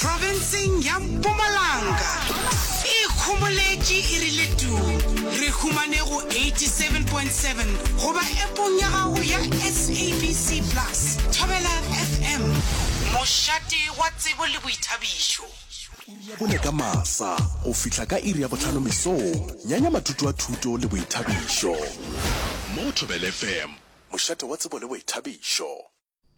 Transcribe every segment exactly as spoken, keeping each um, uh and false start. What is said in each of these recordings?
Profenseng ya Mpumalanga e ikhomoletše e rile tuu. Re humane go eighty-seven point seven goba appong ya gago ya S A B C Plus. Thobela F M, mošate wa tsebo le boithabišo. Iri ya bone ka masa go fihla ka iri ya bohlano mesong, nyanya mathuto a thuto le boithabišo. Mo go Thobela F M, mošate wa tsebo le boithabišo.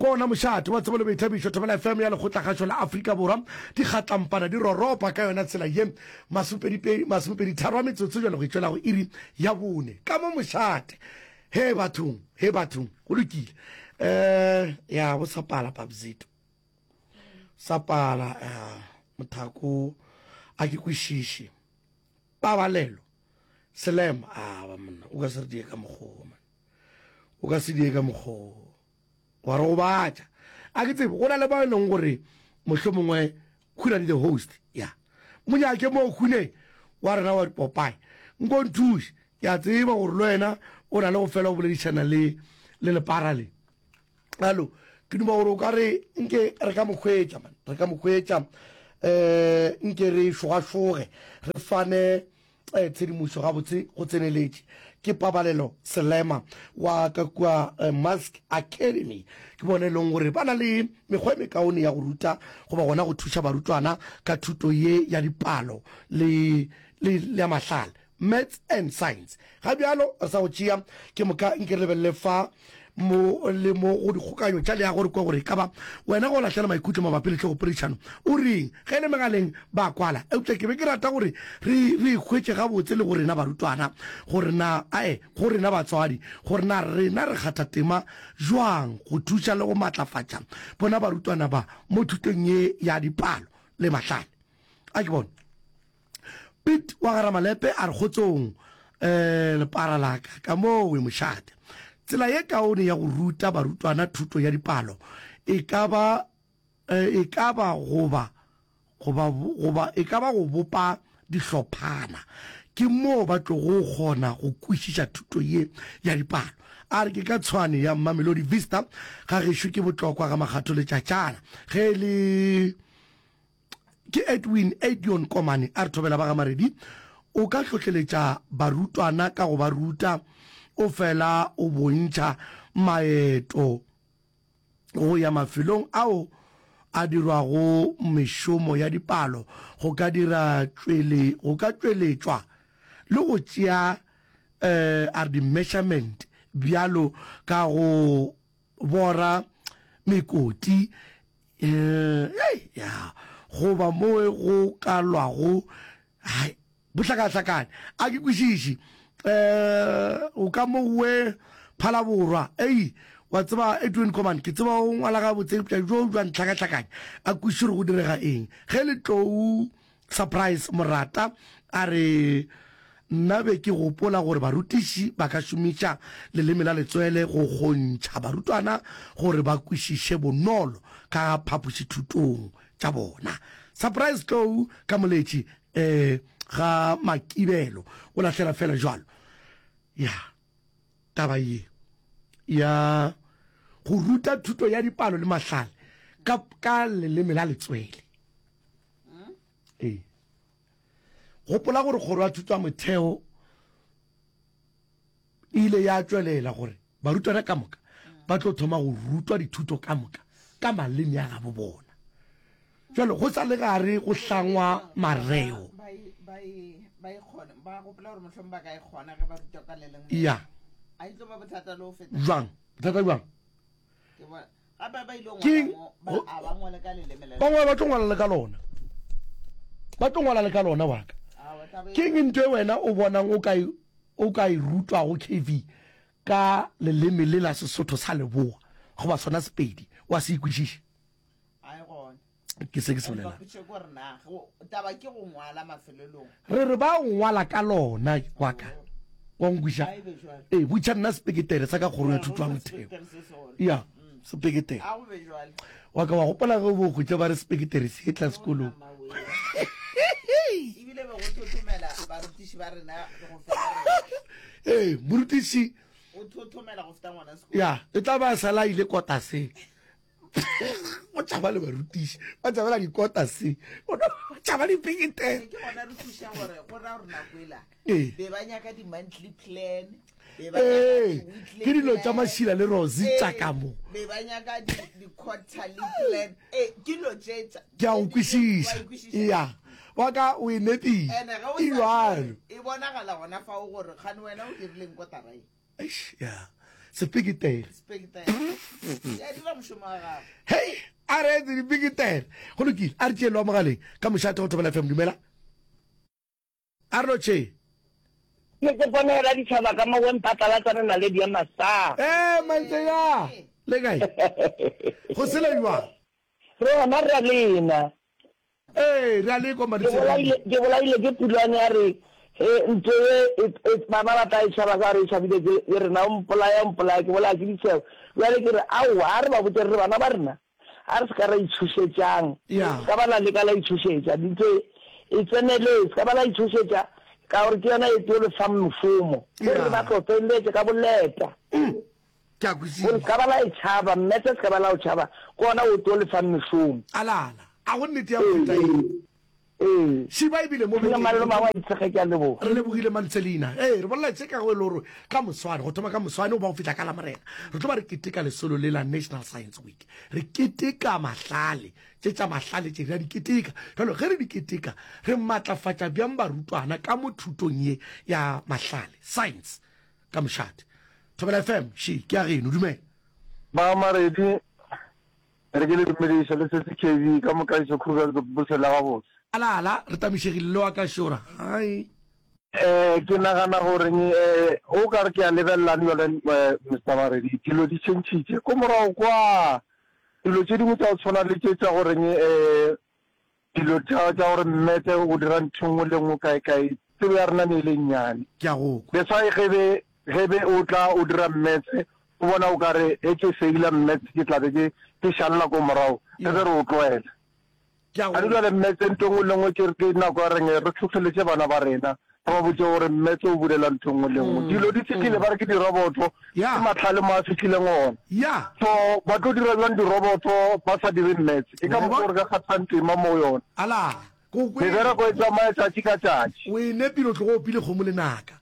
Ke ona mošate wa tsebo le boithabišo, Thobela F M ya Lekgotlakgašo la Afrika Borwa. Dikgatlampana di roropa ka yona tsela ye, masomepedi, masomepedi tharo a metsotso bjale go itšwela go iri ya bone. Ka mo mošate. He bathong, he bathong, go lokile. Eh, ya, bo sa pala, Babzito. Sa pala, eh, mothako, a ke kwešiše. Pabalelo, Selema, a ba monna, o ka se re die ka mokgwa, man. O ka se die ka mokgwa. Wa re gobatša. A ke tsebe, go na le ba e leng gore mohlomongwe Khunadi the host, ya. Monyake mo Khune wa rena wa dipopae. Nko nthuše, ke a tseba gore le wena o na le go fela o boledišana le, le lepara le. Alo, ke duma gore o ka re nke re ka mo hwetša, man. Re ka mo hwetša, eh, nke re šogašoge, re fane eh, tshedimošo gabotse go tseneletše. Ke Pabalelo Selema wa ka kua eh, Mask Academy. Ke bone e leng gore ba na le mekgwa e mekaone ya go ruta goba gona go thuša barutwana ka thuto ye ya dipalo le, le, le ya mahlale, maths and science. Ga bjalo re sa go tšea ke moka nke re lebelele fa mo le mo go dikgokanyo tša leago, re kwe gore e ka ba wena go lahlela maikutlo mabapi le tlhogopoledišano o reng. Ge e le megaleng ba kwala, eupša ke be ke rata gore re re hwetše gabotse le go rena barutwana gore na ae go rena batswadi gore na rena re kgatha tema jwang go thuša le go matlafatša bona barutwana ba mo thutong ye ya dipalo le mahlale. A ke bone Piet wa ga Ramalepe a re kgotsong um lepara la ka ka moo mošate. Tsela ye kaone ya go ruta barutwana thuto ya dipalo e ka ba e ka ba goba goba goba e ka ba go bopa dihlophana. Ke moo ba tlogo kgona go kwešiša thuto ye ya dipalo. A re ke ka Tshwane ya Mamelodi Vista ga gešo ke Botlokwa ga Makgatho Letšatšana. Ge e le ke Edwin Edion Komane a re thobela ba ga Maredi, o ka hlohleletša barutwana ka go ba ruta o fela o bontšha maeto go ya mafelong ao a dirwago mešomo ya dipalo go ka dira tšwele go ka tšweletšwa le go tšea eh, a re di-measurement bjalo ka go bora mekoti eh, ya goba mo go ka lwago hai bohlakahlakane. A ke kwešiše um o ka mowe Phalaborwa. Ei, wa tseba Edwin Command, ke tseba o ngwala gabotse, eupša jo jwa ntlhakahlakanya, a kwešiše gore go direga eng. Ge le tlou Surprise Morata a re nna be ke gopola gore barutiši ba ka šomiša leleme la letswele go kgontšha barutwana gore ba kwešiše bonolo ka phapošithutong tša bona. Surprise Tlou ka Moletši um ga Makibelo o lahlela fela jwalo ya taba ye ya go ruta thuto ya dipalo le mahlale ka, ka leleme la letswele. Ee, gopola gore kgoro ya thuto ya motheo e ile ya tšwelela gore barutwana ka moka ba tlo thoma go rutwa dithuto ka moka ka maleme a gabo bona. Jalo go sa le gare go hlangwa mareo ya jwang bothata bjang ke bangwe ba tlo ngwala le ka lona, ba tlo ngwala le ka lona wa ka. Ke eng ntho e wena o bonang o ka o ka e rutwago K V ka leleme le la Sesotho sa Leboa goba sona Sepedi wa se ikwešiše? Ke se ke se bolelang. Re re ba ngwala ka lona wa ka wa nkwiša. Ee, botša nna sepeketere sa ka kgorong ya thuto ya motheo ya sepeketere wa ka wa gopola ge o bo hwetša ba re sepeketere se tla sekolong. Ee, morutiši ya e tla ba sala ile kotaseng. Go tšhaba le barutiši, ba tšhabela dikota se, go tšhaba dipeketere. Ke gona re thuša gore go ra gore nako ela Ee. be ba nyaka di-monthly plan, be ba Ee, nyaka di-weekly ke dilo tša plan. Mašila le Rosie Ee, tša ka mo. be ba nyaka di- di-quarterly plan. Ee, ke dilo tše tša- Ke a go tše di- kwešiša. wa e kwešiša. Ya, wa ka o e nepile. And-e ge o E sa bjalo. e bonagala gona fao gore kgane wena o dirileng kotara e. Eish, ya. Sepeketere. Sepeketere. Ya dira mošomo wa gago. Hei, a re etse dipeketere. Go lokile, a re tšeelwa mogaleng ka mošate go Thobela F M. Dumela. A re lotšhe. Ne ke ponela ditšhaba ka mo wempatlalatsa re naledi ya masa. Eh, Mantseya. Le kae? Go sela jwang? Re gona re a lena. Ee, re a lekwa, Ke Mantseya. bolaile, ke bolaile ke pulwane ya re, he, ntho e, e, e, bana ba tla e tšhaba ka gore e tšhabile ke, ke rena, o mpolaya, o mpolaya, ke bolaya ke ditšhebo. Bjale ke re, aowa, a re ba botse re re bana ba rena, a re se ka ra itshošetšang. Ya. Se ka ba la leka la itshošetša, ntho e, e tseneletse, se ka ba la itshošetša, ka gore ke yona e tlo le fang mošomo. Ke re Ya. ba tlo feleletše ka boleta. Mm. Ke a kwešiša. Gore se ka ba la e tšhaba, mmetse se ka ba la o tšhaba, ke ona o tlo le fang mešomo. Alala, a go nnete ya go feta eng? Ee. Šiba ebile mo Ke bekeng. malome wa itshege, ke a leboga. Re lebogile Mantselina. Ee, re bolela tše ka go e le gore ka moswane, go thoma ka moswane go ba go fihla ka Lamorena, re tlo ba re keteka lesolo le la National Science Week. Re keteka mahlale, tše tša mahlale tše re a di keteka. Jalo ge re di keteka, re matlafatša bjang barutwana ka mo thutong ye ya mahlale, science, ka mošate. Thobela F M, she, ke ya geno, dumela. Ba Maredi, re ke le dumediša le setse K V ka moka iso Krugersdorp bosela gabotse. Alala, re tamišegile le wa ka šora. Hai. Eh, ke nagana gore, eh, o ka re ke a lebelelane jale, eh, Mister Maredi, dilo di tšhentšhitše. Ko morago kwa, dilo tše dingwe tša go tshwana le tše tša goreng, eh, dilo tša, tša gore mmetse o dira ntho nngwe le nngwe kae kae, tsebo ya rena ne e le nnyane. Ke a go kwa. That's why ge be, ge be o tla o dira mmetse, o bona o ka re, e ke feila mmetse, ke tla be ke, ke šalela ko morago, re be re o tloela. Ke a go A re jwale mmetse ntho nngwe le nngwe ke re ke nako ya reng re tlhotlheletse bana ba rena, re ba botse gore mmetse o bulela ntho nngwe le nngwe. Mm, Dilo di fihlile, mm. ba re ke diroboto, Ya. ke mahlale mo a fihlileng ona. Ya. So ba tlo dira bjang diroboto ba sa dire mmetse? E ka Wa mokgwa bona? gore ka kgathang tema mo yona. Ala, ko kwe. Mebereko e tsamaya tšatši ka tšatši. O e nepile, o tlogo opile kgomo lenaka.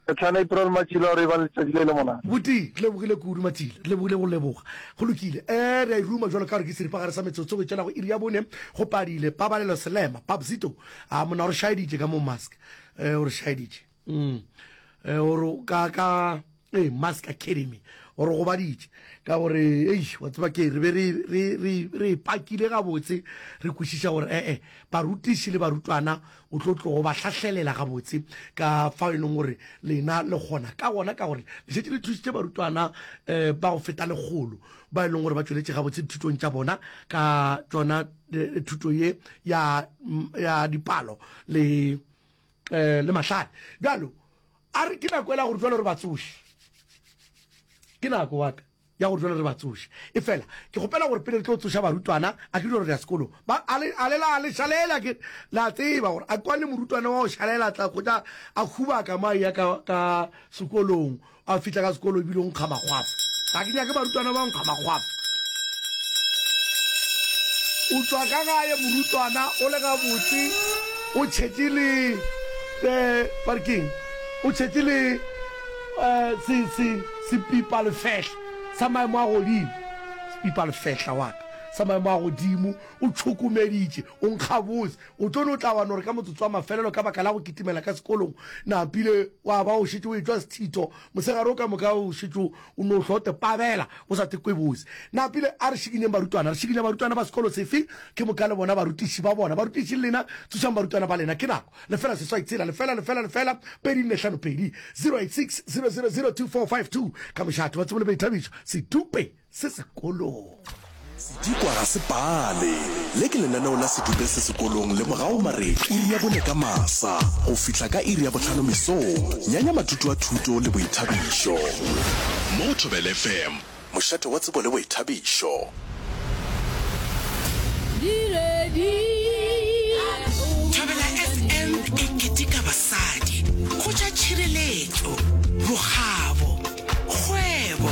Re tlhana April Matšila gore e ba letšatši le le monate. Buti, re lebogile kudu Matšila, re lebogile go leboga. Go lokile. Eh, re a e ruma jwalo ka gore ke seripagare sa metsotso go tšwela go iri ya bone, go padile Pabalelo Selema, Babzito. A monna o re šaeditše ka mo mask. Eh, o re šaeditše. Mm. Eh, o re ka, ka, eh, Mask Academy. O re gobaditše ka gore, eish, wa tseba ke re be re, re, re, re pakile gabotse, re kwešiša gore, eh, eh, barutiši le barutwana o tlo tlogo ba hlahlelela gabotse ka fao e leng gore lena le kgona ka gona, ka gore le šetše le thušitše barutwana, eh, ba go feta lekgolo ba e leng gore ba tšweletše gabotse dithutong tša bona ka tšona, eh, thuto ye ya, ya dipalo le, eh, le mahlale. Bjalo a re ke nako ela gore jwale re ba tsoše, ke nako wa ka ya gore jwale re ba tsoše. E fela ke kgopela gore pele re tlo tsoša barutwana, a ke dilo re ya sekolo, ba, a le, a le la, le šalela, ke la tseba gore a kwane morutwana wa go šalela tla kgotsa a hubaka mo a ya ka, ka sekolong, a fihla ka sekolo ebile o nkga makgwafo. Ga ke nyake barutwana ba nkga makgwafo. O tswa ka gae morutwana o le gabotse, o tšhetše le, eh, ba re keng? O tšhetše le, eh, se, se, sepipa lefehla sa maemo a godimo, sepipa lefehla wa ka sa maemo a godimo, o tšhokomeditše, o nkga botse, o tlo no tla wa no re ka motsotso wa mafelelo ka baka la go kitimela ka sekolong, napile wa ba o šetše o etšwa sethito, mosegare o ka moka o šetše o no hlote pabela, o sa tekwe botse. Napile a re šikinyeng barutwana, re šikinya barutwana ba sekolo sefe, ke moka le bona barutiši ba bona, barutiši le lena tsošang barutwana ba lena, ke nako lefela seswai tshela lefela lefela lefela pedi nne hlano pedi zero eight six zero zero zero two four five two ka mošate wa tsebo le boithabišo sedupe se sekolong. Sedikwa ga se pale. Le ke lenaneo la sedupe se sekolong le mogao mare iri ya bone ka masa go fihla ka iri ya bohlano mesong. Nyanya mathuto a thuto le boithabišo. Mo Thobela F M, mošate wa tsebo le boithabišo. Thobela F M e keteka basadi go tša tšhireletšo, bokgabo, kgwebo,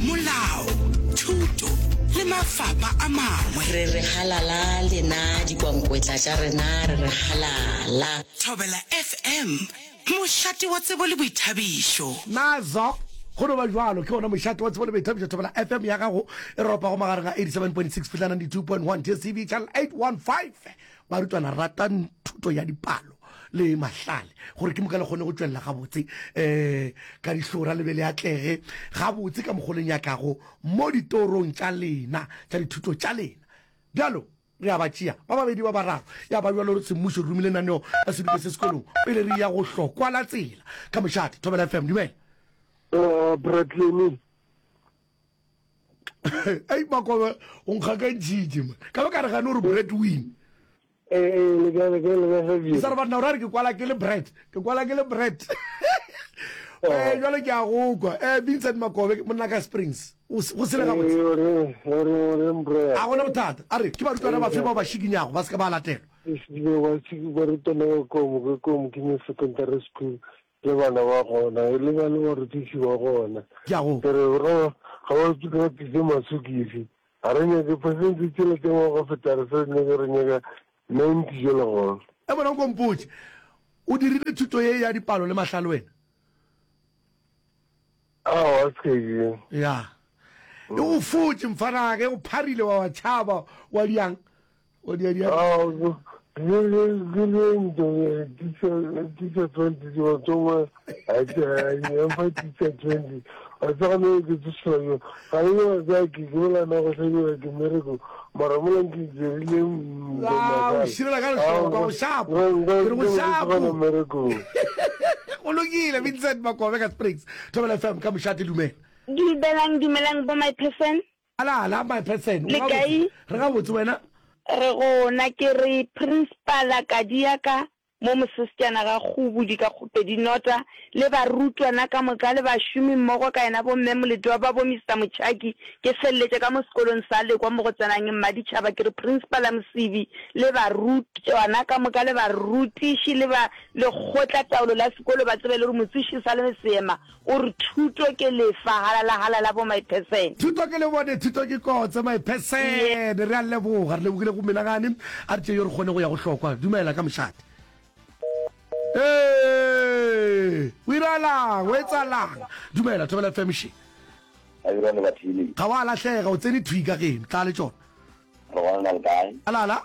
molao, thuto le mafapa a mangwe. Re re halala lena dikwankwetla tša rena re re halala. Thobela F M, mošate wa tsebo le boithabišo. Nazo, go no ba bjalo, ke gona mošate wa tsebo le boithabišo Thobela F M ya gago e ropago magareng a eighty-seven point six fihla ninety-two point one D S T V channel eight one five. Barutwana, ratang thuto ya dipalo le mahlale gore ke moka le kgone go tšwelela gabotse um ka dihlora le be le atlege gabotse ka mokgoleng ya kago mo ditorong tša lena tša dithuto tša lena. Bjalo re a ba tšea ba babedi ba bararo ya ba bjalo semmušo re romile naneo la sedupe se sekolong pele re ya go hlokwa la tsela ka mošate. Thobela F M, dumela. Uh, Bradley. Ei, Makobe, o nkgakantšhitše man, ka ba ka re gane gore bread win. Eh, eh, le ka le ka le ka ke sa re banna o ra re ke kwala ke le bread, ke kwala ke le bread. Eh, jwale ke a go kwa. Eh, Vincent Makobe, monna ka Springs, o se- go sele gabotse? Ore ore ore mbro. A gona bothata. A re ke barutwana bafe bao ba šikinyago ba se ka ba latelwa? Ba barutwana ba komo ke komo ke mo secondary school le bana ba gona le ba le barutiši ba gona. Ke a go Ke re ga ga ba ba tlise masokisi. Ga re nyake percent tšela tse go feta, re sa nyake, re nyaka ninety jela gona. E bona o kompotse o dirile thuto ye ya dipalo le mahlale wena? Aowa, se ke. Ya e go fotse mfanake, e go pharile wa wa tšhaba wa diang wa dia dia. Ah, ke le ntho teacher teacher twenty tsongwe a teacher twenty a tsagane ke tsošela ga e ga ke ke bolana go hlabiwa ke mmereko mara mola ke dirile. Ah, o širela ka lehlokwa go shapo, ke re go shapo. Mmerekong. Go lokile. Vincent Makobe ka Springs. Thobela F M ka mošate, dumela. Dumelang, dumelang bo my person. Ala ala, my person. Le kae? Re gabotse, wena? Re gona. Ke re principala Kadiaka mo mosesejana ga Kgobodi ka Kgopedi Nota le barutwana ka moka le bašomi mmogo ka yena bomme Moletwa ba bo Mister Motšhaki. Ke feleletše ka mo sekolong sa Lekwa mo go tsenang Mmaditšhaba. Ke re principala Mosibi le barutwana ka moka le barutiši le ba lekgotla taolo la sekolo ba tsebe le gore motsoši sa le seema o re thuto ke lefa. Halala halala bo my person. Thuto ke lebone, thuto ke kotse, my person. Re a leboga, re lebogile go menagane. A re tše yo re kgone go ya go hlokwa. Dumela ka mošate. Ee, o iralang, o etsalang? Dumela, Thobela F M še. Ga wa lahlega, o tsene thwi ka geno tla le tšona. Re gona, le kae? Alala,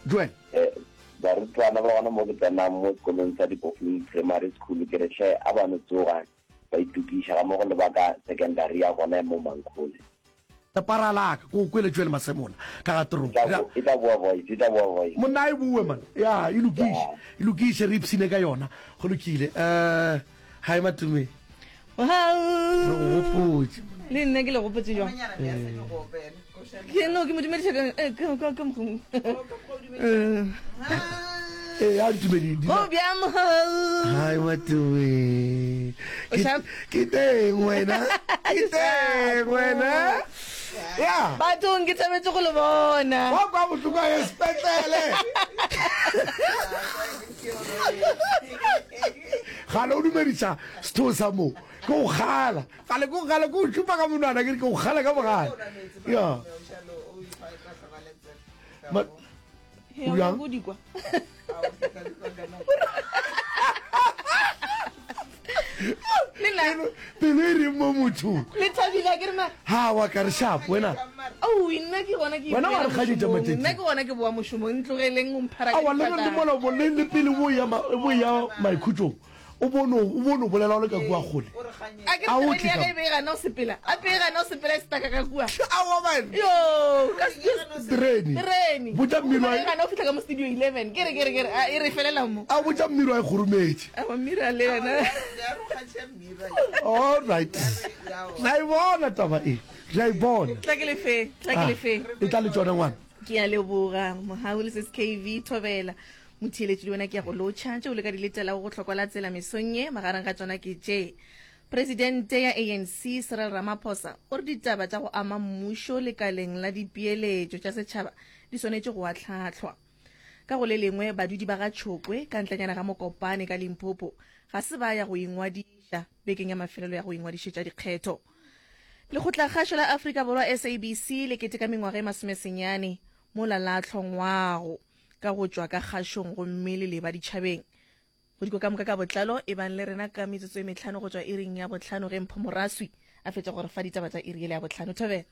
Joel. Eh, barutwana ba gona mo ke tsenang mo sekolong sa Dipofung Primary School, ke re hle a ba no tsoga ba itokiša ga mo go lebaka secondary ya gona mo Mankhole. Paralaka ko kwele Joel Masemola ka ga toropo. E tla boa voice, e tla boa voice. Monna e bue man, ya e lokiše, e lokiše, re ipsine ka yona. Go lokile. Um hi Matume, re go gopotse. Le nna ke le gopotse jwang? Ke no ke mo dumediša ka eh, ka ka ka mokgwa. Ee, a ntumedi. Go bjang, mogau? Hi Matume. O sharp? Ke teng, wena? Ke teng, wena? Ya. Bathong, ke thabetse go le bona. Wa kwa bohloko a ye sepetlele gale o dumediša setho sa mo ke go gala gale, ke go gala, ke go šupa ka monwana, ke re ke go gala ka bogale ya. Ma- He, o Bjang? nyaka go di kwa. Le nna pelo e reng mo mothong? Le thabile a ke re ma? Ha wa ka re sharp wena. Oh, nna ke gona ke Wena wa re ipoela kganyetša mošomong. matšatši. Nna ke gona ke boa mošomong, ntlogeleng o mphara ka Awa le le difatana. mola bo le le pele bo ya ma- bo ya maikhutšong o bone o bone o bolela o le ka kua kgole. A ke A o re tle terene ya ka ka e be e gana go sepela, a pe e gana go sepela e staka ka kua. Awa man. Yo, ka Terene. terene Botša mmino wa- e gana go fitlha ka mo studio eleven, ke re ke re ke re a e re felela mo. A botša mmiro a e kgorometše. Awa, mmira le yena. All right, re a e bona taba e, re a e bona. Tla ke lefe, tla ke Ah, lefe. E tla le tsona, ngwana. Ke a leboga, Mogau le S K V. Thobela motheeletši, le wena ke ya go lotšha. Tšeo le ka di letelago go hlokwa la tsela mesong ye, magareng ga tšona ke tše: Presidente ya A N C Cyril Ramaphosa o re ditaba tša go ama mmušo lekaleng la dipeeletšo tša setšhaba di swanetše go atlhatlhwa. Ka go le lengwe, badudi ba ga Tšhokwe ka ntlenyana ga Mokopane ka Limpopo ga se ba ya go ingwadiša bekeng ya mafelelo ya go ingwadišetša dikgetho. Lekgotlakgašo la Afrika Borwa, S A B C, le keteka mengwaga e masomesenyane mola la hlongwago ka go tšwa ka kgašong gomme le leba ditšhabeng. Go diko ka moka ka botlalo, ebang le rena ka metsotso e mehlano go tšwa iring ya bohlano ge Mpho Moraswi a fetša go re fa ditaba tša iri yela ya bohlano. Thobela.